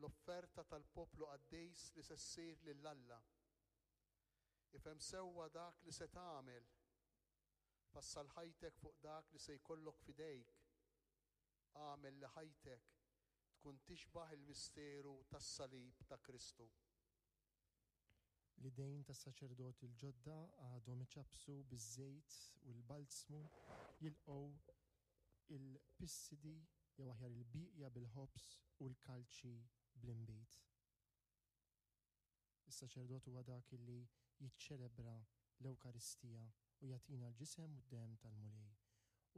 l-offerta tal-poplu qaddis li se ssir lil Alla. Ifhem sewwa dak li se tagħmel. Fassal ħajtek fuq dak li se jkollok f'idejk. Agħmel li ħajtek tkun tixbah il-misteru tas-salib ta' Kristu. L-idejn tas-saċerdoti l-ġodda għadhom iċappsu biż-żejt u l-balzmu, jilqgħu il-pissidi jew aħjar il-bieqja bil-ħobż u l-kalċi bl-inbid. Is-saċerdot huwa dak li jiċċelebra l-Ewkaristija u jagħtina l-ġisem u d-demm tal-Mulej.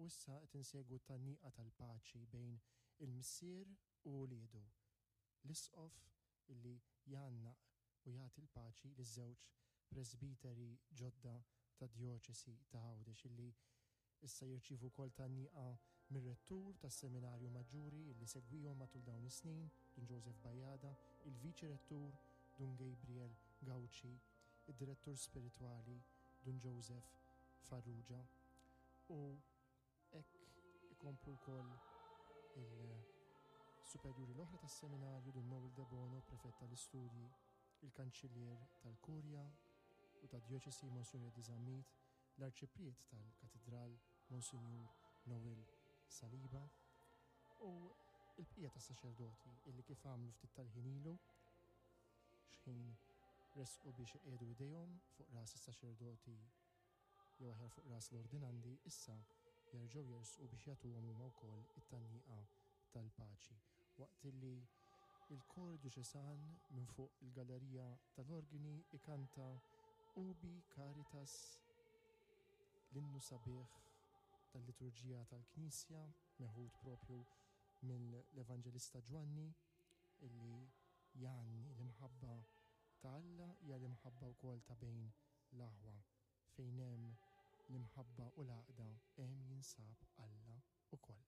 U issa qed insegwu t-tgħanniqa tal-paċi bejn il-Missier u uliedu, l-Isqof illi jgħannaq u jagħti l-paċi liż-żewġ presbiteri ġodda tad-Djoċesi ta' Għawdex illi issa jirċievu wkoll tgħanniqa mir-Rettur tas-Seminarju Maġġuri illi segwihom matul dawn is-snin, Dun Joseph Bajada, il-Viċi Rettur, Dun Gabriel Gauci, id-Direttur Spiritwali, Dun Joseph Farrugia u Hekk ikomplu wkoll il-superjuri l-oħra tas-seminarju, Dun Noel Debono, Prefett tal-Istudji, il-Kanċillier tal-Kurja u tad-Djoċesi Monsinjur Eddie Zammit, l-Arċipriet tal-Katidral Monsinjur Noel Saliba u l-bqija tas-saċerdoti illi kif għamlu ftit tal-ħin ilu x'ħin resqu biex iqiegħdu idejhom fuq ras is-saċerdoti jew aħjar fuq ras l-ordinandi, issa jerġgħu jersqu biex jagħtuhom huma wkoll it-tgħanniqa tal-paċi. Waqt li l-kor djoċesan minn fuq il-gallerija tal-organi ikanta Ubi Caritas, l-innu sabiħ tal-liturġija tal-Knisja, meħud propju mill-Evanġelista Ġwanni, illi jgħanni l-imħabba ta' Alla hija l-imħabba wkoll ta' bejn L-aħwa, fejn hemm l-imħabba u l-għaqda hemm jinsab Alla ukoll.